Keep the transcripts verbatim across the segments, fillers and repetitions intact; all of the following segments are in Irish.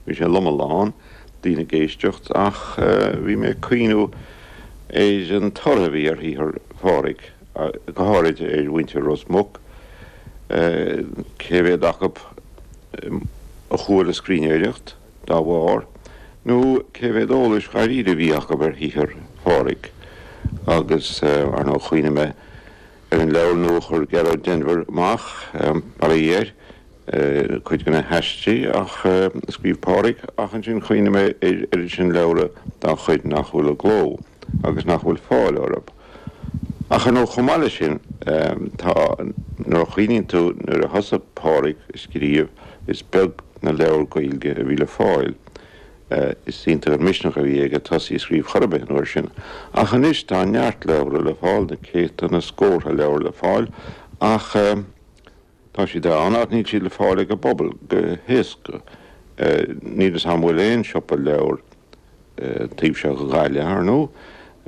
Bhí sé loma lán, daoine ag éisteacht, ach bhí mé ag cuimhniú ar an tor a bhí ar shaothar Phádraig, go háirid ar mhuintir Ros Muc, cé mhéad acu a chuaigh le scríbhneoireacht dá bharr, nó cé mhéad eolais dháiríre a bhí acu ar shaothar Phádraig. Agus ar ndóigh chuimhnigh mé ar an leabhar nua a chuir Gearóid Denvir amach, bail ó Dhia air, cuid de na haistí ach a scríobh Pádraig, ach ansin chuimhnigh mé ar oiread sin leabhra dá chuid nach bhfuil i gcló agus nach bhfuil fáil orthu. Ach ar ndóigh chomh maith leis sin, tá, nuair a chuimhníonn tú nuair a thosaigh Pádraig ag scríobh, is beag na leabhair Gaeilge a bhí le fáil. Is iontach an misneach a bhí aige tosaí ag scríobh chor ar bith an uair sin. Ach anois tá neart leabhra le fáil, na céadta, na scórtha leabhar le fáil, ach tá siad ann ach níl siad le fáil ag an bpobal go héasca. Níl fhios a'm an bhfuil aon siopa leabhar taobh seo de Ghaillimh, ar ndóigh.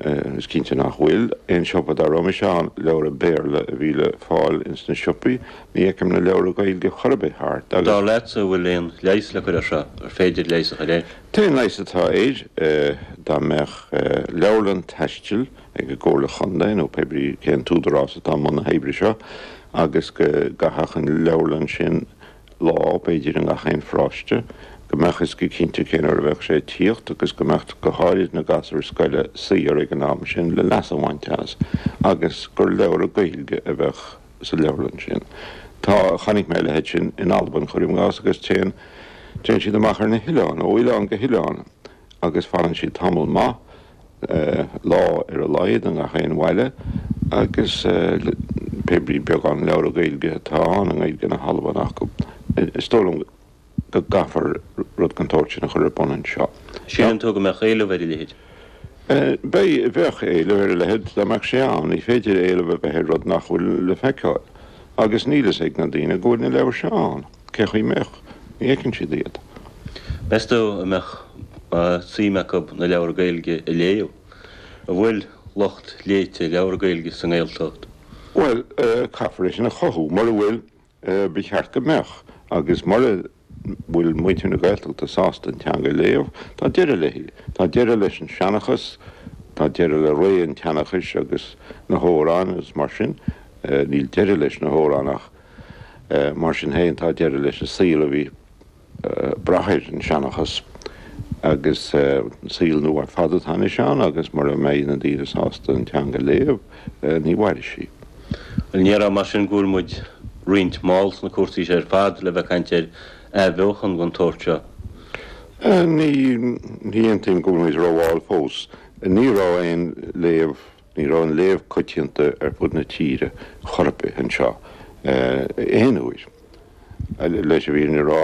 Is cinnte nach bhfuil. Aon siopa dá raibh mise ann, leabhra Béarla a bhí le fáil ins na siopaí. Ní fheicim na leabhra Gaeilge chor ar bith thart agus. Dar leatsa, an bhfuil aon leigheas le cur air seo? Ar féidir leigheas a chur air? T-aon leigheas atá air, dá mbeadh leabharlann taistil ag an gComhairle Chontae nó pé brí cén t-údarás atá i mbun na hoibre seo agus go gcaithfeadh an leabharlann sin lá, b'fhéidir, i ngach aon pharóiste, go mbeadh fhios go cinnte cén uair a bheadh sé ag tíocht agus go mbeadh go háirid na gasúir scoile saor ag an am sin le leas a bhaint as agus gur leabhra Gaeilge a bheadh sa leabharlann sin. Tá, chonaic mé a leithéid sin in Albain, cuirim i gcás, agus téann, téann siad amach ar na hoileáin, ó oileán go hoileán agus fanann siad tamall maith, lá ar a laghad i ngach aon bhaile agus pé brí beagán leabhra Gaeilge atá ann i nGaeilge na hAlban acu. Is dóigh liom go gcaithfear rud den tsórt sin a chur ar bun anseo. Síleann tú go mbeadh éileamh ar a leithéid? Beidh, bheadh éileamh ar a leithéid dá mbeadh sé ann. Ní féidir éileamh a bheith ar rud nach bhfuil le feiceáil. Agus níl fhios ag na daoine go bhfuil na leabhair seo ann. Cé chaoi mbeadh? Ní fheiceann siad iad. Meas tú an mbeadh suim acu na leabhair Gaeilge a léamh? An bhfuil lucht léite leabhar Gaeilge sa nGaeltacht? Bhuel, caithfear é sin a chothú. Mura bhfuil, ba cheart go mbeadh. Agus mura bhfuil muintir na Gaeltachta sásta an teanga a léamh, tá deireadh léi. Tá deireadh leis an seanchas, tá deireadh le ré an tseanchais agus na hamhráin agus mar sin. Níl deireadh leis na hamhráin ach mar sin féin tá deireadh leis an saol a bhí ag brath ar an seanchas agus saol nua ar fad atá anois ann agus mura mbeidh na daoine sásta an teanga a léamh, ní mhairfidh sí. Bhuel, ní déarfá mar sin go bhfuil muid roinnt mall sna cúrsaí seo ar fad le bheith ag caint ar athbheochan den tsórt seo? Ní ní aontaím go bhfuil muid rómhall fós. Ní raibh aon léamh, ní raibh an léamh coitianta ar fud na tíre chor ar bith anseo aon uair. Leis an bhfírinne a rá,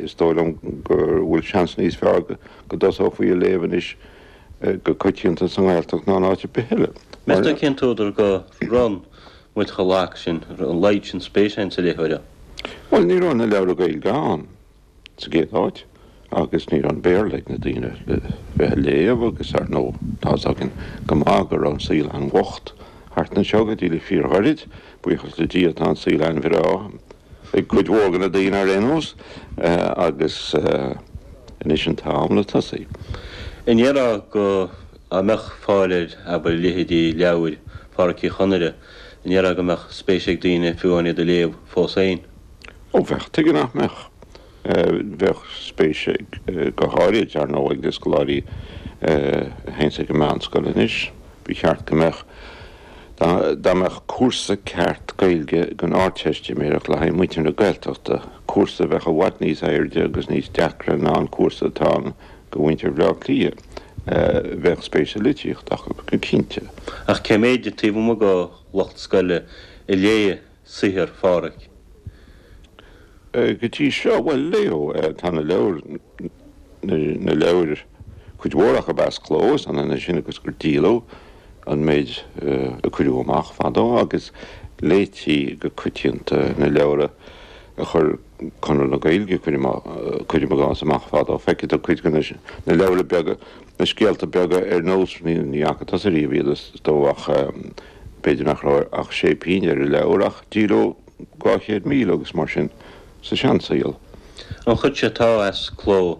is dóigh liom go bhfuil seans níos fearr go dtosófaí a léamh anois go coitianta sa nGaeltacht ná in áit ar bith eile. Meas tú cén t-údar go raibh muid chomh lag sin, an laghad sin spéise ann sa léitheoireacht? Bhuel, ní raibh na leabhra Gaeilge ann sa gcéad áit agus ní raibh an Béarla ag na daoine le bheith a léamh agus ar ndóigh tá's againn go maith go raibh an saol an-bhocht thart anseo go dtí le fíorghairid. Buíochas le Dia tá an saol an-bhreá ag cuid mhór de na daoine ar aon nós agus anois an t-am le tosaí. An ndéarfá go dá mbeadh fáil ar, abair, leithéidí leabhair Phádraic Uí Chonaire, an ndéarfá go mbeadh spéis ag daoine fiú amháin iad a léamh fós féin? Ó bheadh, tuige nach mbeadh? Bheadh spéis ag, go háirid, ar ndóigh, ag na scoláirí a théanns ag an meánscoil anois. Ba cheart go mbeadh, dá mbeadh cúrsa ceart Gaeilge don Ardteistiméireacht le haghaidh muintir na Gaeltachta, cúrsa a bheadh i bhfad níos airde agus níos deacra ná an cúrsa atá ann do mhuintir Bhaile Átha Cliath, bheadh spéis sa litríocht acu, go cinnte. Ach cé méid taobh amuigh de lucht scoile a léigh saothar Phádhraic? Go dtí seo, bhuel, léadh, tá na leabhair, na leabhair, cuid mhór acu as cló, is ionann é sin agus gur díoladh an méid a cuireadh amach fadó agus léití go coitianta na leabhra a chuir Conradh na Gaeilge, cuirim i gcás, amach fadó. Feicfidh tú cuid de na leabhra beaga, na scéalta beaga ar nós, ní fhaca tusa riamh iad is dóigh ach b'fhéidir nach raibh ach sé pingin ar an leabhar ach díoladh dhá chéad míle agus mar sin sa seansaol. An chuid seo atá as cló,